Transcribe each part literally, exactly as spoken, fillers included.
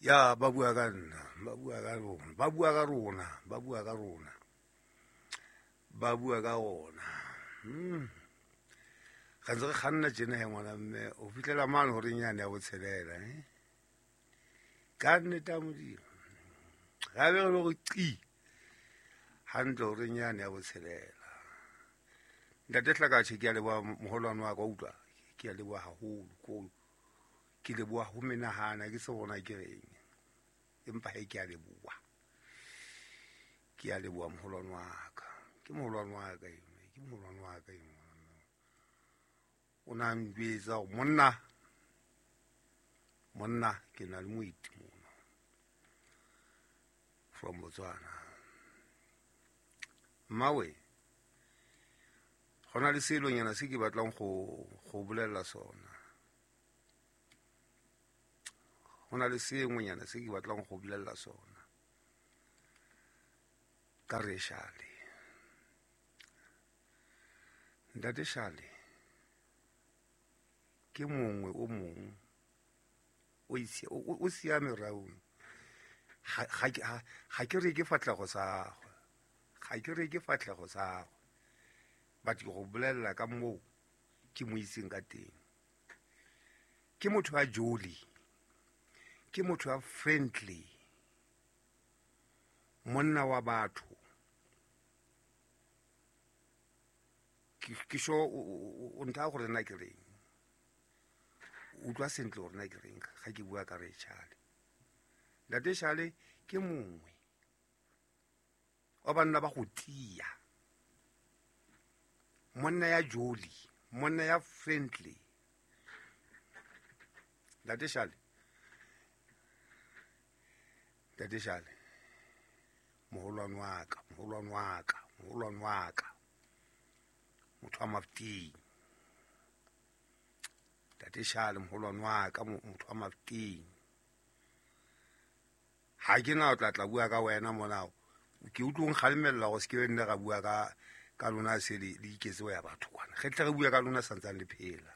Ya ba bua ka nna, ba bua ka rona, ba bua ka rona, ba bua ka rona, ba bua ka rona. Hmm. Ga ntse re kganna tjena he ngwana mme o fihlela mane horeng yane ya botshelela eh. Ka nnete ya Modimo. Ga be re le gore qi hantle horeng yane ya botshelela. Ntate Hlakatjhe, ke a leboha moholwane wa ka, wa utlwa? Ke a leboha haholo, ko ke leboha ho menahana ke se bona ke reng. Empa he ke a leboha. Ke a leboha moholwane wa ka. Ke moholwane wa ka eno, ke moholwane wa ka eno. O na njwetsa hore monna, monna ke na le moeti mona from Botswana. Mmawe, go na le selonyana se ke batlang go go bolella sona. Go na le sengwenyana se ke batlang go bolella sona ka re Shale. Ntate Shale ke mongwe o mong o itse o o siame raong. Ga ga ke ga ke re ke fatlhego sa gagwe, ga ke re ke fatlhego sa gagwe, but ke go bolella ka moo ke mo itseng ka teng. Ke motho wa jolly, ke motho wa friendly, monna wa batho. Ke ke sure o ntha gore nna ke reng. Utlwa sentle gore nna ke reng ga ke bua ka re Shale. Ntate Shale ke mongwe wa banna ba go tia, monna ya jolly, monna ya friendly. Ntate Shale, Ntate Shale, moholwane wa ka, moholwane wa ka, moholwane wa ka, motho wa Mafeteng. Ntate Shale, moholwane wa ka, motho wa Mafeteng. Ha ke na o tla tla bua ka wena mona. Ke utlwe o nkgalemella gore se ke be nne ra bua ka ka lona se le le iketse ho ya batho kwana. Re tle re bua ka lona santsane le phela.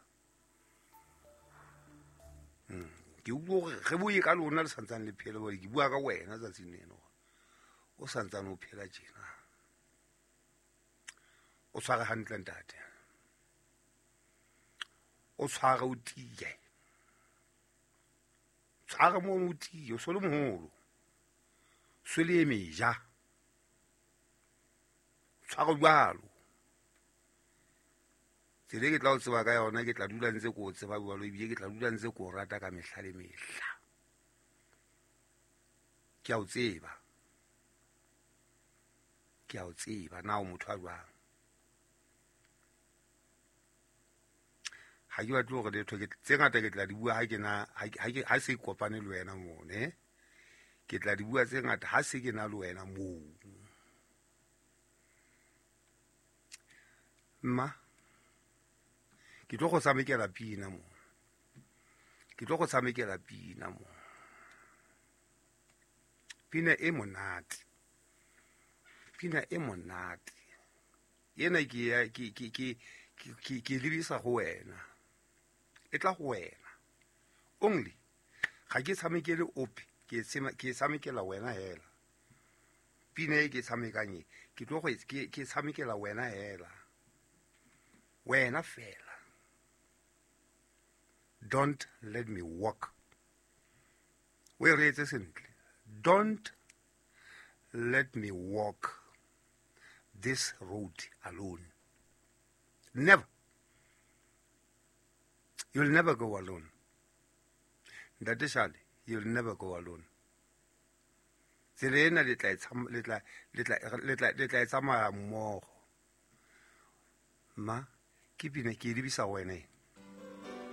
Mm. Ke utlwe hore re bue ka lona le santsane le phela, hobane ke bua ka wena tsatsing leno. O santsane o phela tjena. O tshware hantle ntate. O tshware o tiye. Tshware mono o tiye, o so le moholo. Se le meja. Tshware jwalo. Tsela e ke tla o tseba ka yona, ke tla dula ntse ke o tseba jwalo, ebile ke tla dula ntse ke o rata ka mehla le mehla. Ke a o tseba. Ke a o tseba na o motho a jwang. Ha ke batle hore letho ke tse ngata ke tla di bua ha ke na ha ke ha se kopane le wena moo, ne? Ke tla di bua tse ngata ha se ke na le wena moo. Mma, ke tlo go tshamekela pina mo. Ke tlo go tshamekela pina mo. Pina e monate. Pina e monate. Ena ke ya ke ke ke ke ke lebisa go wena. E tla go wena. Only ga ke tshamekele ope, ke ke tshamekela wena hela. Pina e ke tshamekang e, ke tlo go ke ke tshamekela wena hela. Wena fela. Don't let me walk. We reetse sentle. Don't let me walk this road alone. Never. You'll never go alone. Ntate Shale, you'll never go alone. Tsela ena le tla le tla le tla le tla le tla tsamaya mmogo. Ma, ke pina ke lebisa wena.